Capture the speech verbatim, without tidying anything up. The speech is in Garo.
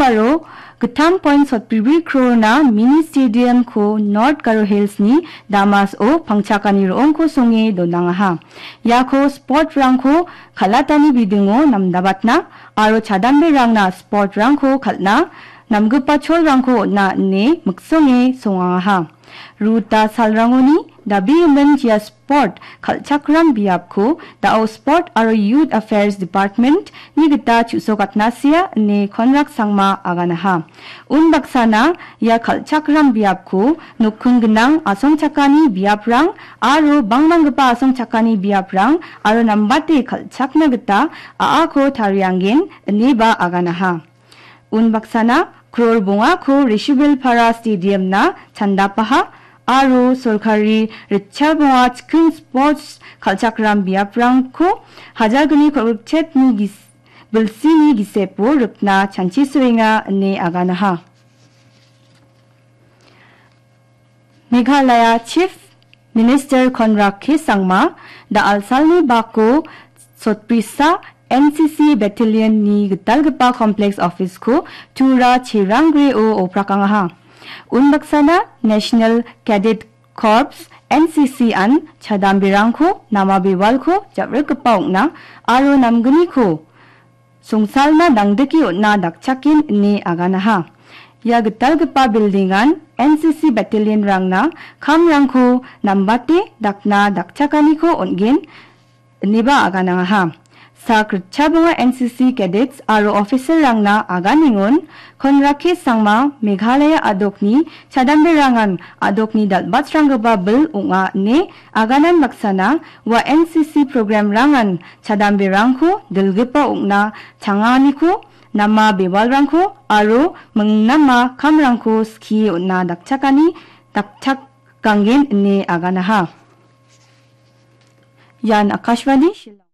aro gittam point sotbribri crore-na mini stadium-ko North Garo Hills-ni Damas-o pangchakani ro·ongko songe donangaha. Iako sport-rangko kal·atani bidingo namdabatna aro chadamberangna sport-rangko kal·na namgipa cholrangko on·a ine miksonge songangaha. Ruta salrangoni dabegimin ia sport kal·chakram biapko da·o Sport aro Youth Affairs Department-ni gita chu·sokatnasia ine Konrak Sangma aganaha. Unbaksana ia kal·chakram biapko nokking gnang asongchakani biaprang aro bangbanggipa asongchakani biaprang aro nambate kal·chakna gita a·ako tarianggen ineba aganaha. Unbaksana crore bongako Rishibilpara Stadium-na chandapaha aro sorkari ritchal bonga chiking sports kal·chakram biaprangko hajalgni kolgrikchetni gis-, bilsini gisepo rikna chanchisoenga ine aganaha. Meghalaya Chief Minister Conrad K Sangma da·al salni bako sotbrisa N C C Battalion-ni gitalgipa complex office-ko Tura Cherangre-o oprakangaha. Unbaksana National Cadet Corps, N C C-an chadamberangko nama bewalko ja·rikgipa ong·na aro namgniko songsalna dangdike on·na dakchaken ine aganaha. Ia gitalgipa building-an N C C battalion-rangna kamrangko nambate dakna dakchakaniko on·gen ineba aganangaha. Sak ritchabonga N C C cadets aro officer-rangna aganengon Konrad K Sangma Meghalaya a·dokni chadamberangan a·dokni dal·batsranggipa bil ong·a ine aganan baksana ua N C C program-rangan chadamberangko dilgipa ong·na changaniko nama bewalrangko aro mingnama kamrangko skie on·na dakchakani dakchakganggen ine aganaha. Ian Akashvani Shillong.